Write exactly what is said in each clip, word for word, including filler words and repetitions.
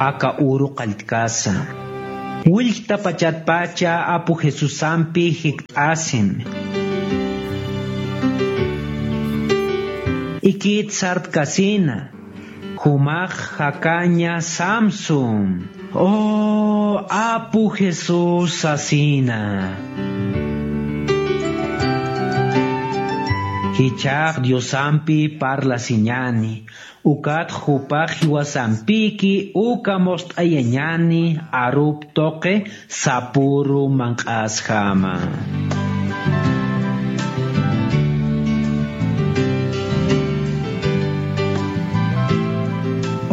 aka uru qalltkasa. Willktapachatpacha Apu Jesusampi jikt'asim. Ikit sartkasina, jumax jakaña samsum. O Apu Jesús sasina. Jichhax Diosampi parlasiñani, ukat jupax jiwasampiki uka must'ayañani arup tuqi sapüru manq'asjama.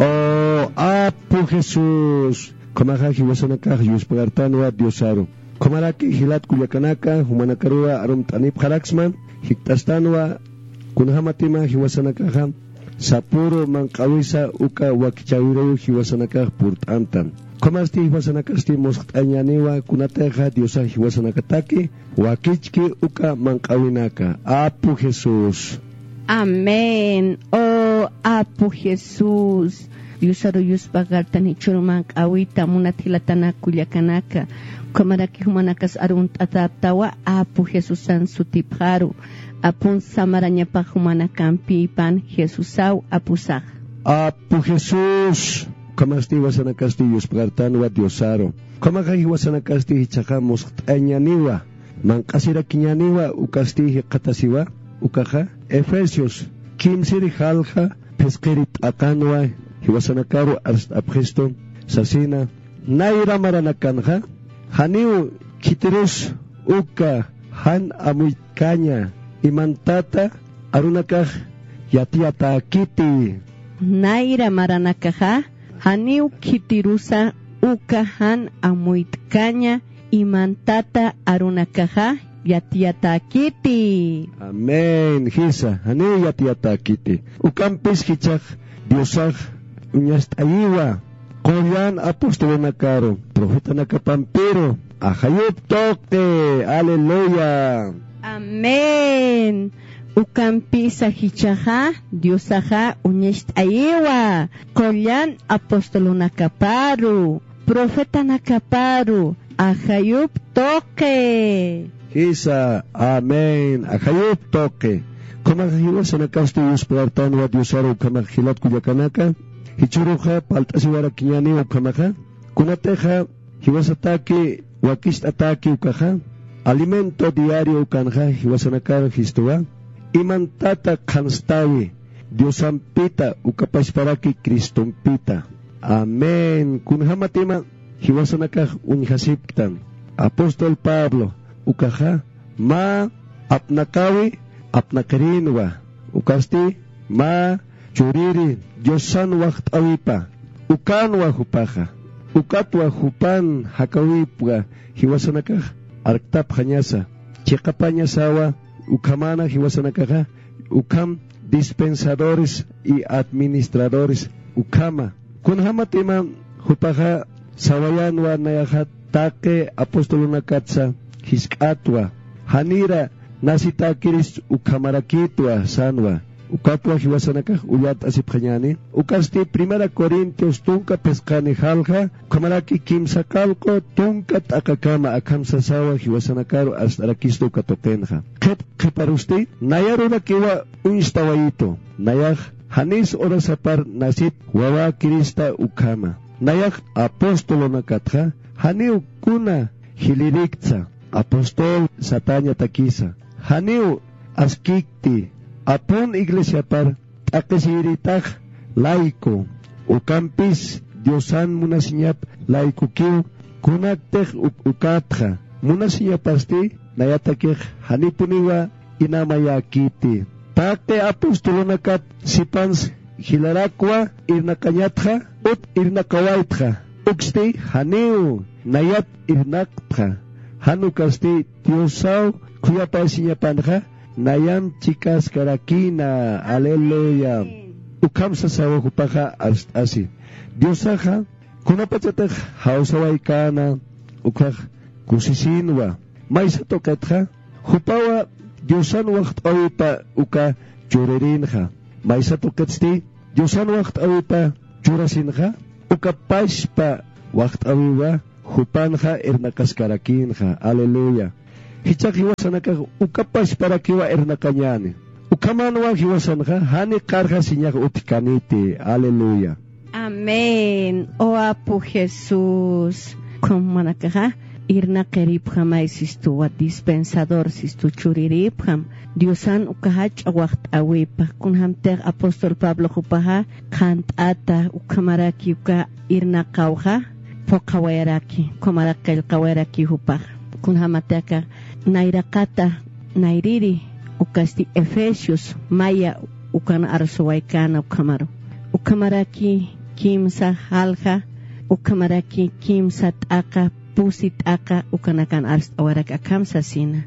O Apu Jesús, ukhamaxa jiwasanakax yuspagartanwa Diosaru. Ukhamaraki jilat kullakanaka, jumanakaruwa arumt'anipxaraksma, jikt'astanwa, kunjämatima jiwasanakaxa sapüru manq'awisa uka wakichäwiruw jiwasanakax purt'anta. Ukhamasti jiwasanakasti muskt'añäniwa kunatixa Diosax jiwasanakataki wakichki uka manq'awinaka. Apu Jesús. Amén. O Apu Jesús, Diosaru yuspagartan jichhüru manq'awita munat jilatanak kullakanaka. Ukhamaraki jumanakas arunt'atäpxtawa Apu Jesusan sutipxaru. Apun samarañapax jumanakampipan Jesusaw apusax. Apu Jesús, ukhamasti jiwasanakasti yuspagartanwa Diosaru. Ukhamaxa jiwasanakasti jichhaxa muskt'añäniwa, manq'asirakiñäniwa, ukasti jikxatasiwa, ukaxa Efesios kimsir jalja phisqiri t'aqanwa jiwasanakaru arst'apxistu sasina, nayra maranakanxa, janiw khitirus uka jan amuytkaña imantata arunakax yatiyatäkiti. Nayra maranakaxa, janiw khitirusa uka jan amuytkaña imantata arunakaxa yatiyatäkiti. Amén. Jisa, janiw yatiyatäkiti. Ukampis jichhax Diosax uñast'ayiwa qullan apostolonakaru, profetanakapampiru, ajayup tuqi. Aleluya. Amén. Ukampisa jichhaxa Diosaxa uñast'ayiwa qullan apostolonakaparu, profetanakaparu, ajayup tuqi. Jisa, amén, ajayup tuqi. Ukhamaxa jiwasanakasti yuspagartanwa Diosaru ukhamaxa jilat kullakanaka, jichhüruxa palt'asiwarakiñäni ukhamaxa, kunatixa jiwasataki wakicht'atäki ukaxa, alimento diario ukanxa jiwasanakar jistuwa, imantata qhanstäwi Diosampita ukapachparaki Cristompita. Amén. Kunjämatima jiwasanakax uñjasipktan. Apóstol Pablo ukaxa mä apnaqawi apnaqirinwa, ukasti mä churiri Diosan waxt'äwipa, ukanwa jupaxa, ukatwa jupan jakäwipwa jiwasanakax arktapxañasa, chiqapañasawa, ukhamana jiwasanakaxa, ukham dispensadores y administradores ukhama. Kunjämatima jupaxa sawayanwa nayaxa taqi apostolonakatsa jisk'atwa, janira nasitäkiris ukhamarakïtwa sanwa. Ukatwa jiwasanakax ullart'asipxañäni. Ukasti Primera Corintios tunka phisqani jalja, ukhamaraki kimsa qallqu tunka t'aqakama akham sasawa jiwasanakaru arst'arakistu uka tuqinxa. Qhip qhiparusti, nayarurakiwa uñstawayitu. Nayax janis urasapar nasip wawäkirista ukhama. Nayax apostolonakatxa janiw kuna jilïriktsa, apostol satäñatakisa. Janiw askïkti, apun iglesiapar t'aqhisiyiritax layku, ukampis Diosan munasiñap laykukiw, kunaktix uk-, ukatxa munasiñapasti nayatakix janipuniwa inamayäkiti. Taqi apostolonakat sipans jilarakwa irnaqañatxa, ut irnaqawaytxa, uksti janiw nayat irnaqtxa, jan ukasti Diosaw khuyapayasiñapanxa, nayam chikaskarakïna. Aleluya. Ukham sasawa jupaxa arst'asi. Diosaxa kunapachatix jawsawaykäna, ukhax kusisïnwa. Maysa tuqitxa, jupawa Diosan waxt'äwipa uka churirinxa. Maysa tuqitsti, Diosan waxt'äwipa churasinxa, Uka pachpa waxt'äwiwa jupanxa irnaqaskarakïnxa. Aleluya. Jichhax jiwasanakax uka pachparakiwa irnaqañäni. Ukhamanwa jiwasanxa jani qarxasiñax utjkaniti. Aleluya. Amén. O apu Jesús. Ukhamanakaxa irnaqiripxamay sistuwa, dispensador sistu churiripxam. Diosan uka jach'a waxt'äwipa. Kunjamtix apóstol Pablo jupaxa qhant'ata, ukhamaraki uka irnaqawxa phuqhawayaraki, ukhamarak qillqawayaraki jupaxa. Kunjamatix aka nayraqata nayriri, ukasti Efesios maya ukan arsuwaykäna ukhamaru. Ukhamaraki kimsa jalja, ukhamaraki kimsa t'aqa, pusi t'aqa ukanakan arst'awarak akham sasina.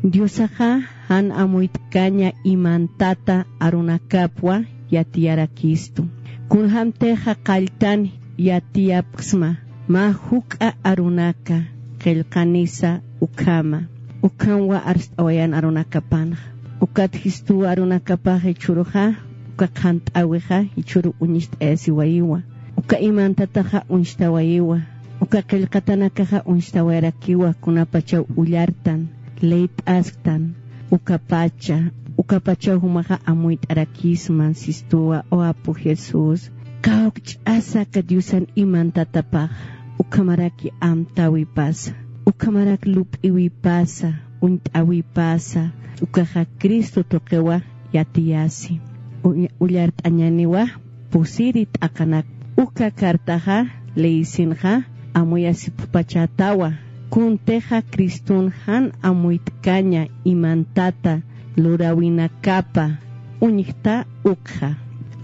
Diosaxa jan amuyt'kaña imantata arunakapwa yatiyarakistu. Kunjamtixa qalltan yatiyapxsma, mä juk'a arunaka qillqanisa ukhama. Ukhamwa arst'awayan arunakapanxa. Ukat jistuw arunakapax jichhüruxa, uka qhant'äwixa jichhüru uñst'ayasiwayiwa. Uka imantataxa uñstawayiwa. Uka qillqatanakaxa uñstawayarakiwa, kunapachaw ullartan, leyt'asktan, ukapacha, ukapachaw jumaxa amuyt'arakisman sistuwa, o apu Jesús. Kawkch'asa aka Diosan imantatapax, ukhamaraki amtäwipasa, ukhamarak lup'iwipasa, uñt'äwipasa, ukaxa Cristo tuqiwa yatiyasi. Uy-, ullart'añäniwa pusiri t'aqanak. Uka cartaxa leyisinxa amuyasipxpachätawa. Kuntixa Criston jan amuyt'kaña imantata luräwinakapa uñjta ukxa.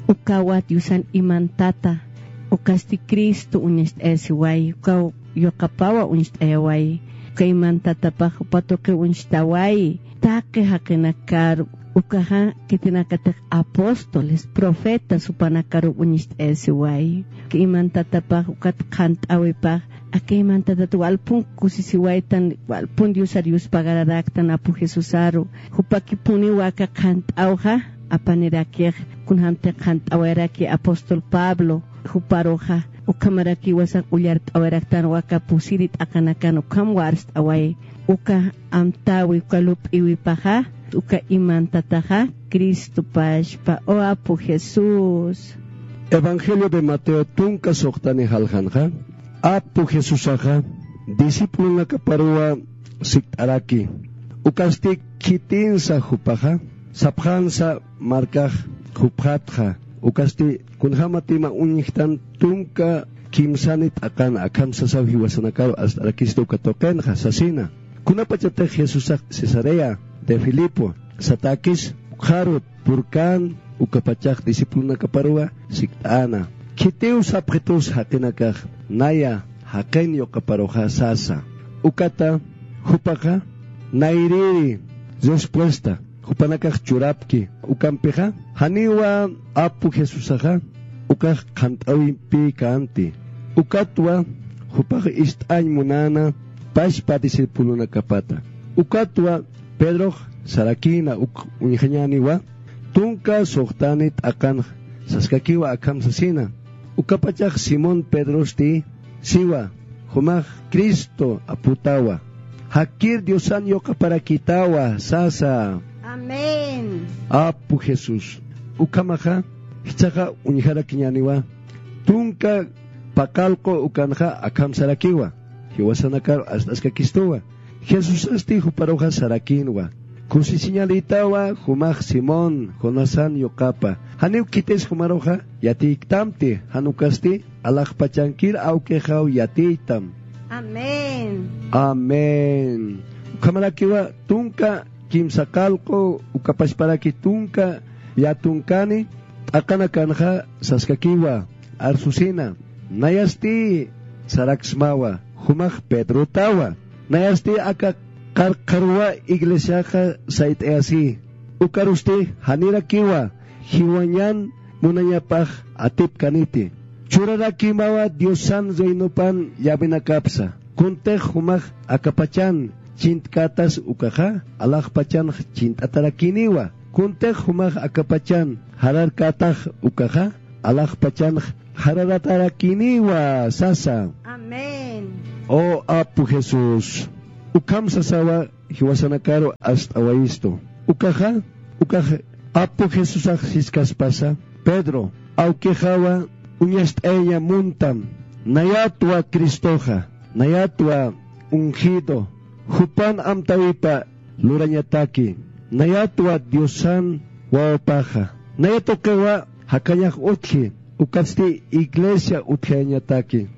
Ukawa Diosan imantata, ukasti Cristo uñacht'ayasiway, ukaw yuqapawa uñst'ayawayi. Uka imantatapax jupa tuqi uñstawayi. Taqi jaqinakaru, ukaxa khitinakatix apóstoles, profetas jupanakaru uñst'ayasiwayi. Uka imantatapax ukat qhant'äwipax, aka imantatat walpun kusisiwaytan, walpun Diosar yuspagararaktan apu Jesusaru. Jupakipuniwa aka qhant'äwxa apanirakix, kunjamtix qhant'äwayaraki apóstol Pablo juparuxa. Ukhamarakiwa sas ullart'awayaraktanwa aka pusiri t'aqanakan, ukhamwa arst'awayi. Uka amtäwi, uka lup'iwipaxa, uka imantataxa Cristo pachpa, o apu Jesús. Evangelio de Mateo tunka suxtani jaljanxa, apu Jesusaxa discipulonakaparuwa sikt'araki. Ukasti khitinsa jupaxa, sapxansa markax jupxatxa. Ukasti kunjämatima uñjtan tunka kimsani t'aqan akham sasaw jiwasanakaru arst'arakista uka tuqinxa sasina. Kunapachatix Jesusax Cesarea de Filipo satäkis, ukxaru purkän, ukapachax discipulonakaparuwa sikt'äna. Khitiw sapxitus jaqinakax, naya jaqin yuqaparuxa sasa. Ukata jupaxa nayrïri respuesta jupanakax churapki. Ukampixa janiwa apu Jesusaxa ukax qhant'äwimpi känti. Ukatwa jupax ist'añ munäna pachpa discipulonakapata. Ukatwa Pedrox sarakïna uk uñjañäniwa, tunka suxtani t'aqanx saskakiwa akham sasina. Ukapachax Simón Pedrosti siwa, jumax Cristo aputawa. Jakir Diosan yuqaparakitawa sasa. Amén. Apu Jesús. Ukhamaxa jichhaxa uñjarakiñäniwa, tunka paqallqu ukanxa akham sarakiwa, jiwasanakaru arst'askakistuwa. Jesusasti juparuxa sarakïnwa, kusisiñalïtawa jumax Simón Jonasan yuqapa. Janiw khitis jumaruxa yatiyktamti, jan ukasti alaxpachankir awkixaw yatiytam. Amén. Amén. Ukhamarakiwa tunka kimsa qallqu, uka pachparaki tunka llätunkani t'aqanakanxa saskakiwa, arsusina. Nayasti saraksmawa, jumax Pedrotawa. Nayasti aka qarqharuwa iglesiaxa sayt'ayasi. Ukarusti janirakiwa jiwañan munañapax atipkaniti. Churarakimawa Diosan reinopan llavenakapsa. Kuntix jumax akapachan chint'kätas ukaxa, alaxpachanx chint'atarakiniwa. Kuntix jumax akapachan jararkätax ukaxa, alaxpachanx jararatarakiniwa sasa. Amén. O apu Jesús, ukham sasawa jiwasanakaru ast'awayistu. Ukaxa, ukax apu Jesusax siskaspasa, Pedro, awkixawa uñast'ayaña muntam, nayatwa Cristoxa, nayatwa ungido, jupan amtawipa lurañataki, nayatwa Diosan wawapaxa, nayatuqiwa jakañax utji, ukatsti iglesia utjayañataki,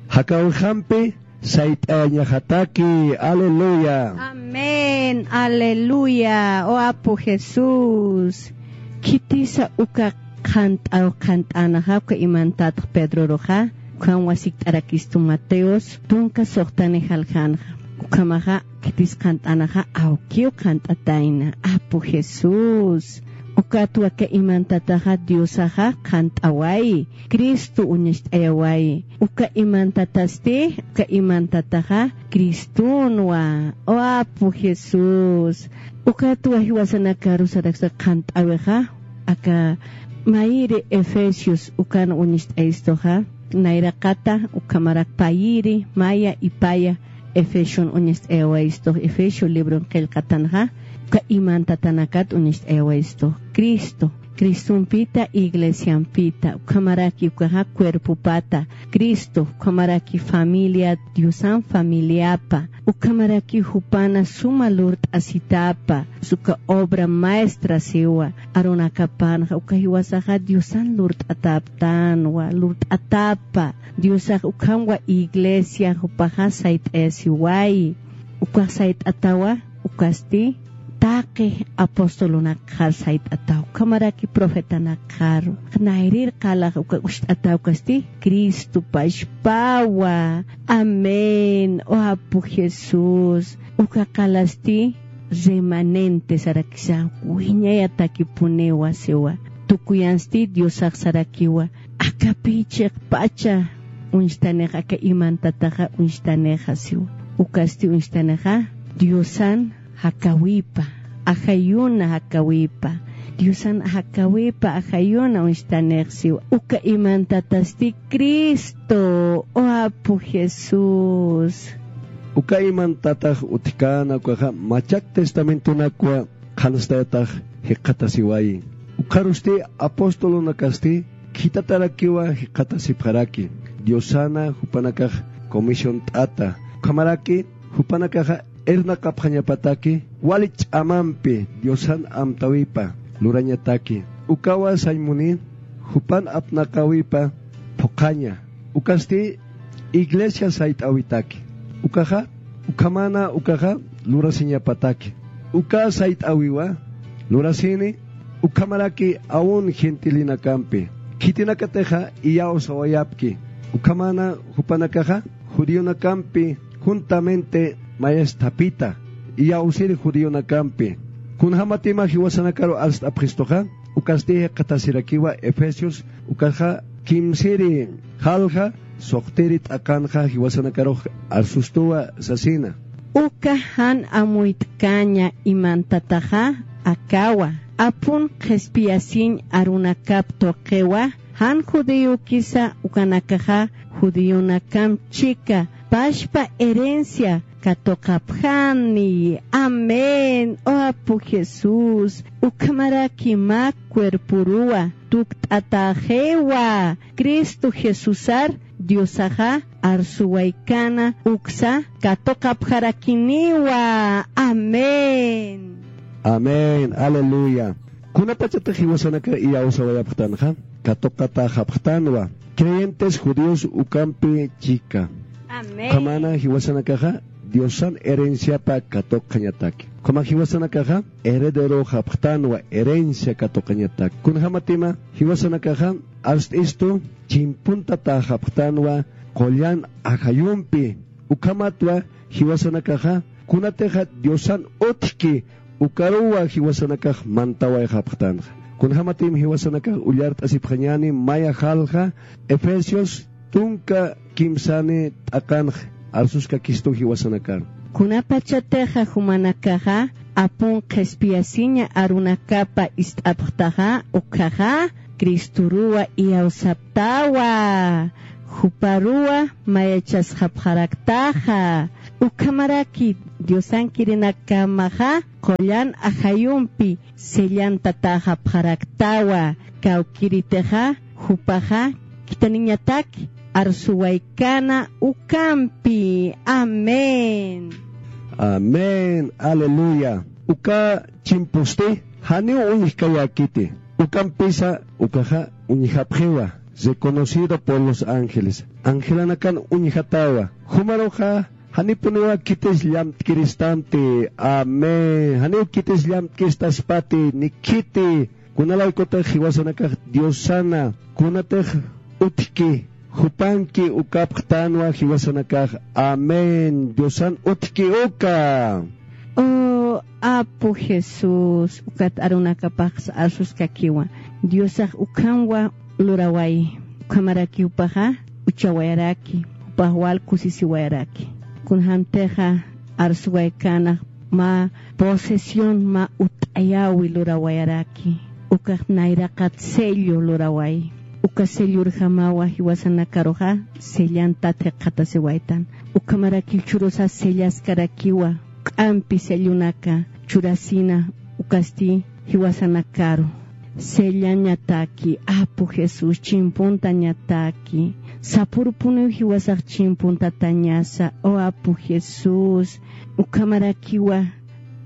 jakawixampi sayt'ayañaxataki. Aleluya. Amén, aleluya. O apu Jesús, khitisa uka qhant'aw qhant'änaxa, uka imantatx Pedroruxa, ukham wasikt'arakistu Mateos tunka suxtani jaljanxa. Ukhamaxa khitis qhant'änaxa, awkiw qhant'atayna, apu Jesús. Ukat waka imantataxa Diosaxa qhant'awayi, Cristo uñacht'ayawayi. Uka imantatasti, uka imantataxa Cristonwa. O apu Jesús. Ukat jiwasanakaru saraksa qhant'awixa, aka mayiri Efesios ukan uñacht'ayistuxa, nayraqata ukhamarak payiri, maya ipaya, Efesion uñacht'ayawayistux, Efesio libron qillqatanxa, uka imantatanakat uñacht'ayawayistux, Cristo, Cristompita, iglesiampita, ukhamaraki ukaxa cuerpopata, Cristo, ukhamaraki familia, Diosan familiapa, ukhamaraki jupana suma lurt'asitapa, uka obra maestra siwa, arunakapanxa, uka jiwasaxa Diosan lurt'ataptanwa, lurt'atapa, Diosax ukhamwa iglesia jupaxa sayt'ayasiwayi. Ukax sayt'atawa, ukasti taqi apostolunakxar sayt'ataw, ukhamaraki profetanakxaru. Nayrir qalax uka ucht'ataw ukasti Cristo pachpawa. Amén. O apu Jesús. Uka qalasti remanente sarakisa, wiñayatakipuniwa siwa. Tukuyansti Diosax sarakiwa. Akapï chiqpacha uñstanix, aka imantataxa uñstanixa siwa. Ukasti uñstanixa Diosan jakawipa, ajayuna jakawipa. Diosan jakawipa, ajayuna uñstanix siwa. Uka imantatasti Cristo, o apu Jesús. Uka imantatax utjkäna ukaxa Machak Testamentonakwa qhanstayatax jikxatasiwayi. Ukxarusti apostolunakasti khitatarakiwa jikxatasipxaraki. Diosana jupanakax comisiont'ata. Ukhamaraki jupanakaxa irnaqapxañapataki wali ch'amampi Diosan amtawipa lurañataki. Ukawa sañ muni jupan apnaqawipa phuqhaña. Ukasti iglesia sayt'awitaki. Ukaxa, ukhamana ukaxa lurasiñapataki. Uka sayt'awiwa lurasini ukhamaraki aun gentilinakampi. Khitinakatixa iyawsawayapki. Ukhamana jupanakaxa judionakampi juntamente mayasthapita, iyawsiri judionakampi. Kunjämatima jiwasanakaru arst'apxistuxa, ukasti jikxatasirakiwa Efesios, ukaxa kimsiri jalja, suxtiri t'aqanxa jiwasanakarux arsustuwa sasina. Uka jan amuyt'kaña imantataxa akawa, apun qhispiyasiñ arunakap tuqiwa, jan judíokisa ukanakaxa judíonakamp chika, pachpa herencia katuqapxani. Amén. O apu Jesús, ukhamaraki mä cuerporuwa tukt'atäxiwa, Cristo Jesusar Diosaxa arsuwaykana uksa katuqapxarakiniwa. Amén. Amén. Aleluya. Kunapachatix jiwasanakar iyawsawayapxtanxa, katuqatäxapxtanwa. Creyentes judíos ukampi chika. Amén. Ukhamana jiwasanakaxa Diosan herenciapa katuqañataki. Ukhama jiwasanakaxa herederoxapxtanwa, herencia katuqañataki. Kunjämatima jiwasanakaxa arst'istu chimpuntatäxapxtanwa qullan ajayumpi. Ukhamatwa jiwasanakaxa kunatixa Diosan utjki ukaruwa jiwasanakax mantawayxapxtanxa. Kunjämatim jiwasanakax ullart'asipxañäni maya jalja Efesios tunka kimsani t'aqanx arsuskakistu jiwasanakar. Kunapachatixa jumanakaxa apun qhispiyasiña arunakapa ist'apxtaxa, ukkhaxa Cristoruwa iyawsaptawa, juparuwa mayachasxapxaraktaxa. Ukhamaraki Diosankirinakamaxa qullan ajayumpi sellantatäxapxaraktawa, kawkïritixa jupaxa khithaniñatak arsuwaykana ukampi. Amén. Amén. Aleluya. Uka chimpusti janiw uñjkayäkiti. Ukampisa ukaxa uñjapxiwa, reconocido por los ángeles. Angelanakan uñjatäwa. Jumaruxa janipuniwa khitis llamtkiristanti. Amén. Janiw khitis llamtkiristaspati, ni khiti. Kunalaykutix jiwasanakax Diosana, kunatix utjki, jupanki ukapxtänwa jiwasanakax. Amén. Diosan utjki uka. O apu Jesús, ukat arunakapax arsuskakiwa. Diosax ukhamwa luraway, ukhamarakiw jupaxa uchawayaraki, jupax wal kusisiwayaraki. Kunjamtixa arsuwaykana mä posesión, mä utt'ayäwi lurawayaraki. Ukax nayraqat sello luraway. Uka sellorjamawa jiwasanakaruxa sellantat jikxatasiwaytan. Ukhamarakiw churusa sellaskarakiwa, juk'ampi sellonaka churasina, ukasti jiwasanakaru. Sellañataki, apu Jesús, chimpuntañataki. Sapurpuniw jiwasax chimpuntatañasa, o apu Jesús. Ukhamarakiwa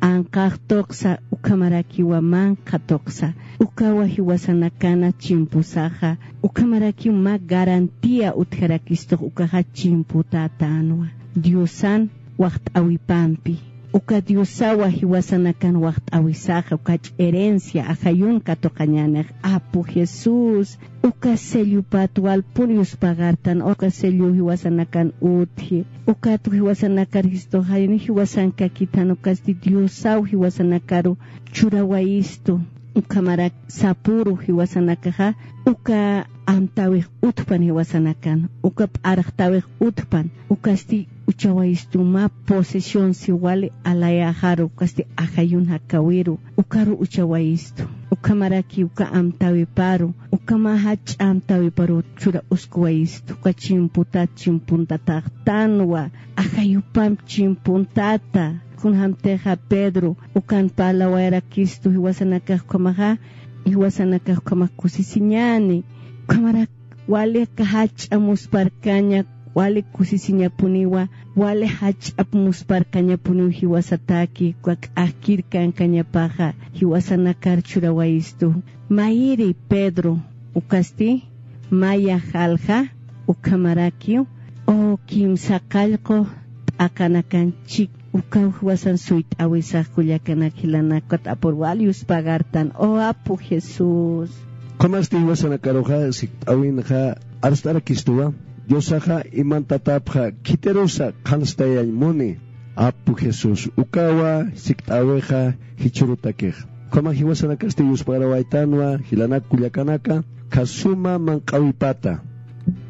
anqax tuqsa, ukhamarakiwa manqha tuqsa. Ukawa jiwasanakana chimpusaxa. Ukhamarakiw mä garantía utjarakistux ukaxa chimputätänwa Diosan waxt'äwipampi. Uka Diosawa jiwasanakan waxt'äwisaxa, ukach herencia ajayun katuqañänix, apu Jesús. Uka sellopat walpun yuspagartan, uka sello jiwasanakan utji. Ukat jiwasanakar Cristoxa jani jiwasankakithan, ukasti Diosaw jiwasanakaru churawayistu. Ukhamarak sapuru jiwasanakaxa, uka amtäwix utjpan jiwasanakan, uka p'arxtäwix utjpan, ukasti uchawayistu mä posesión si wali alayäxaru, ukasti ajayun jakäwiru, ukaru uchawayistu. Ukhamaraki uka amtäwiparu, uka mä jach'a amtäwiparu churaskuwayistu, uka chimputat chimpuntataxtanwa, ajayupamp chimpuntata. Kunjamtixa Pedro ukan parlawayarakistu jiwasanakax ukhamaxa, jiwasanakax ukhamax kusisiñäni. Ukhamarak wali aka jach'a musparkaña, wali kusisiñapuniwa, wali jach'ap musparkañapuniw jiwasataki, uka k'akkir kankañapaxa jiwasanakar churawayistu. Mayiri Pedro, ukasti maya jalja, ukhamarakiw, o kimsa qallqu t'aqanakan chik, ukaw jiwasan suyt'äwisax kullakanak jilanaka, ukat apur wal yuspagartan, o apu Jesús. Qumasti jiwasanakaruxa sikt'äwinxa arst'arakistuwa, Diosaxa imantatapxa khitirusa qhanstayañ muni, apu Jesús, ukawa sikt'äwixa jichhürutakix. Ukhamax jiwasanakasti yuspagarwaytanwa jilanak kullakanaka, khasuma manq'äwipata.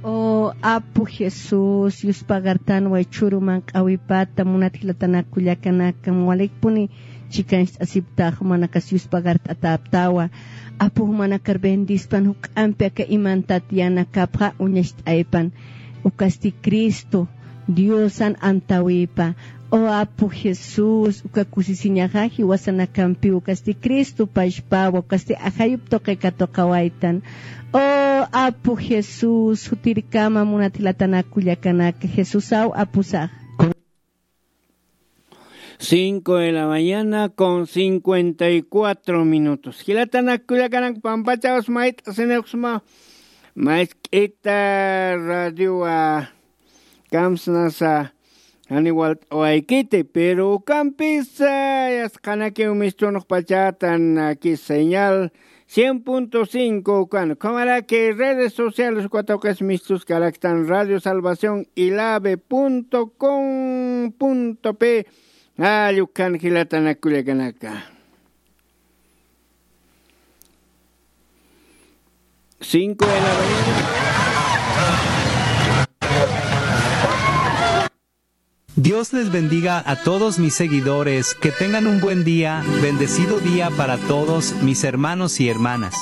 O apu Jesús, yuspagartanwa jichhüru manq'äwipata, munat jilatanak kullakanaka, walikpuni chikancht'asiptax, jumanakas yuspagart'atäptawa. Apu jumanakar bendispan, juk'ampi aka imantat yänakapxa uñacht'aypan. Ukasti Cristo Diosan amtäwipa. O apu Jesús, uka kusisiñaxa jiwasanakampiw, ukasti Cristo pachpawa, ukasti ajayup tuqi katuqawaytan. O apu Jesús, jutirkama munat jilatanak kullakanaka, Jesusaw apusax. Cinco de la mañana con cincuenta y cuatro minutos. Jilatanak kullakanak, pampachaws mayt'asiniwksma, mask'ita radiowa kamsnasa, jani walt'awaykiti, pero ukampisa yasqanakiw mistunxpachatan, aquí señal cien punto cinco ukan, ukhamaraki redes sociales, uka tuqis mistuskaraktan Radio Salvación ilave punto com punto pe, allukhan jilatanak kullakanaka. Cinco de la mañana. Dios les bendiga a todos mis seguidores, que tengan un buen día, bendecido día para todos mis hermanos y hermanas.